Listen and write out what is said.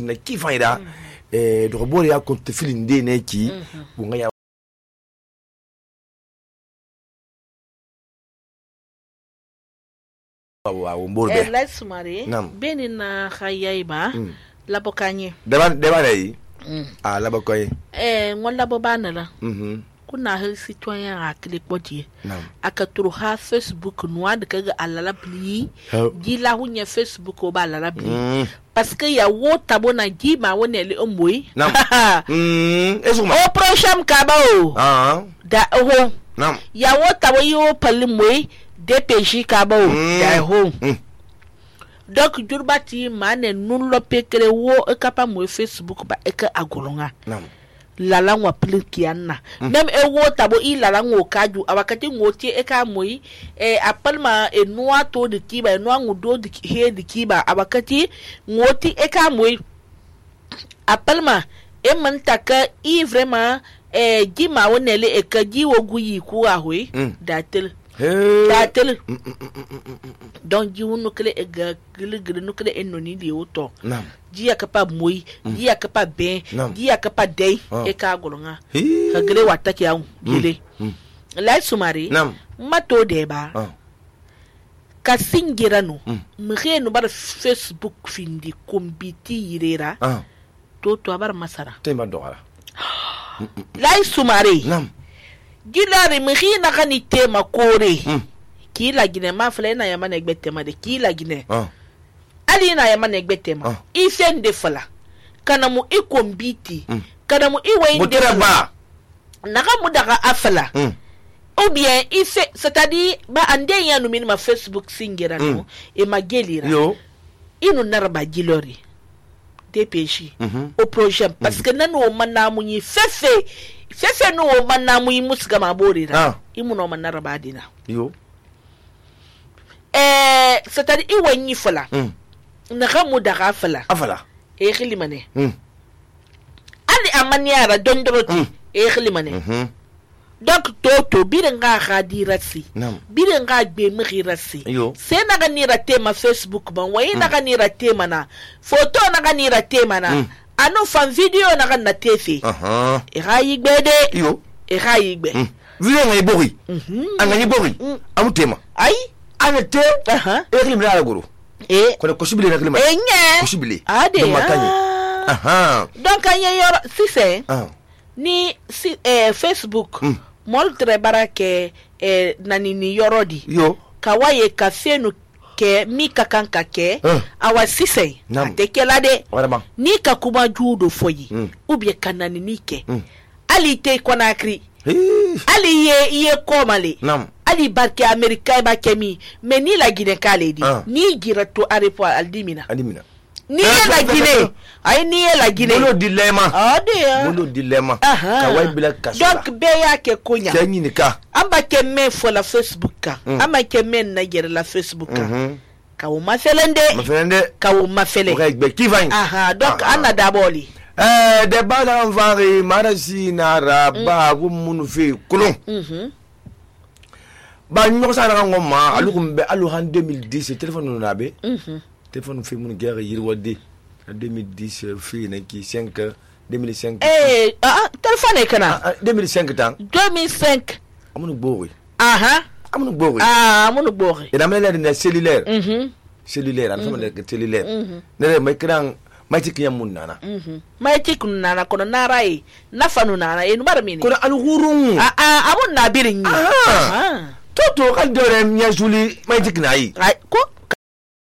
na kifa ida do bore ya konte filin de ne ki bunga ya wa umborbe la sumare beni na khayaiba labokanye deba dai labokoy ngol labobana la kuna hal citoyen a klikpoti aka turu ha Facebook noa de kaga alala pli gila hunya Facebook o ba alala pli parce que ya wo tabo na gima woni le omboy o prochain kabao da ho ya wo tabo yo palimoy DPJ kabao da ho donc jurbati mane nun lo pekere wo e kapa mo Facebook ba e ka agolonga lala ngwa plikiana même e wo tabo I lala ngo kaju awakati ngoti e ka moyi apalma e noa to de kiba e noa ngudo de he de kiba awakati ngoti e ka moyi apalma e mantaka I vraiment gima wonele e ka jiwo guyi ku ahwe datel datel donc jiwo nukle e ga gile nukle enoni di oto dia kapa moyi dia kapa ben dia kapa dei e ka golonga ha gele wataki yawo gele la sumari mato deba ka singira no mre no bar Facebook findi kombiti yirera to abar masara tema doara la sumari gilari mre na kani tema kore ki la gine ma fle na yama na egbetema de ki la gine ali na yama na egbetema ifende fala kana mu ikombiti kana mu iwende ba naga mu daga afala ou bien ife c'est-à-dire ba ande ya no minima Facebook singira no e magelira inu narba gilori DPJ au projet parce que nanu o manamu yi fefe no o manamu yi musga maborira imu no manarba dina c'est-à-dire iwanyi fala naga mu daga afala e khilimane ali amaniara dondroti e khilimane donc toto birenga khadirasi birenga gbe mkhirasi se naga nira tema Facebook ban wayi naga nira tema na photo naga nira tema na anu fan video naga na tefe e rayi gbede e rayi gbe video ngai bori angani bori amu tema ay anete e khilimane ala guru ko ko shibile na khilimane ko shibile ade donc anye yor si c'est ni Facebook moltre barake nani ni yorodi kawaye kafenu ke mika kanka ke awa sise atekelade ni kakuma judo foyi ubye kanani nike ali te konakri ali ye komale ali barke amerika ba kemi me ni la gine kale di ni girato arepo aldimina ni la gine ay ni la gine bolo dilema bolo dilema kawai bila kasula donc be ya ke kunya tanyini ka amba ke me fo la Facebook ka amba ke me na gere la Facebook ka ka o mafelende ka o mafele be kivani donc ana daboli de bala envari marasi na raba gumunu fe kulun ba nyo sa na ngoma alukumbe alu han 2010 téléphone na be téléphone fait mon guerre yirwade 2010 fait naki 5 2005 téléphone kana 2005 tan 2005 amunu bori amunu bori et la mêlée de cellulaire cellulaire am sama de cellulaire ne may kran may tik yamun nana may tik nana kono narai nafanu nana e nubar mini kono al hurun amun na birin toto kan dore nya juli may tik nayi ko